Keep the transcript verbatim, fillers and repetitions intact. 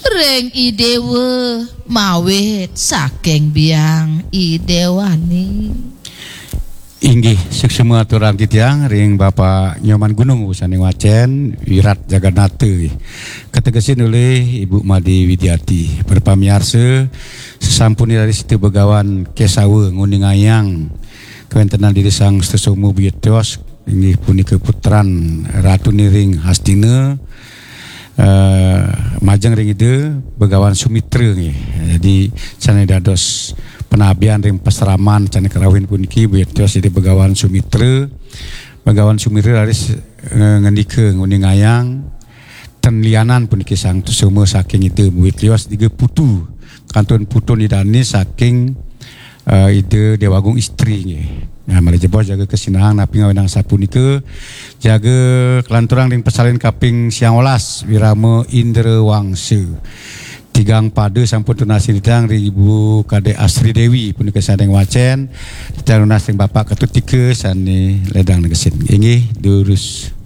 Ring Idewa mawit saking biang Idewani. Inggih, suksma aturang titiang ring Bapak Nyoman Gunung, usan ing wacén, Wirat Jagannatha. Kategesin olih Ibu Made Widiati. Para pamiarsa, sasampune raris Ida Begawan Kesawa nguningayang kawéntenan Ida Sang Sutasoma Buyut Tios, inggih punika putran Ratu Niring Hastina, eh, majeng ring Ida Begawan Sumitra nggih. Jadi sané dados penabian ring pasraman sané karauhin puniki, Buyut Tios Ida Begawan Sumitra. Begawan Sumitra raris, eh, ngandika nguningayang ten lianan puniki Sang Sutasoma saking Ida Buyut Tios, Ida Putu. Kantun putun Ida dané saking, eh, Ida Déwagung Istri nggih. Nah, malih jebos jaga kasinahang napi ngawinang sapunika, jaga kalanturang ring pasalin kaping siang welas, Wirama Indrawangsa. Tigang pada sampun tunas titiang ring Ibu Kadek Asri Dewi punika sané wacén, titiang nunas ring Bapak Ketut Tika sané ledang negesin. Inggih, durus.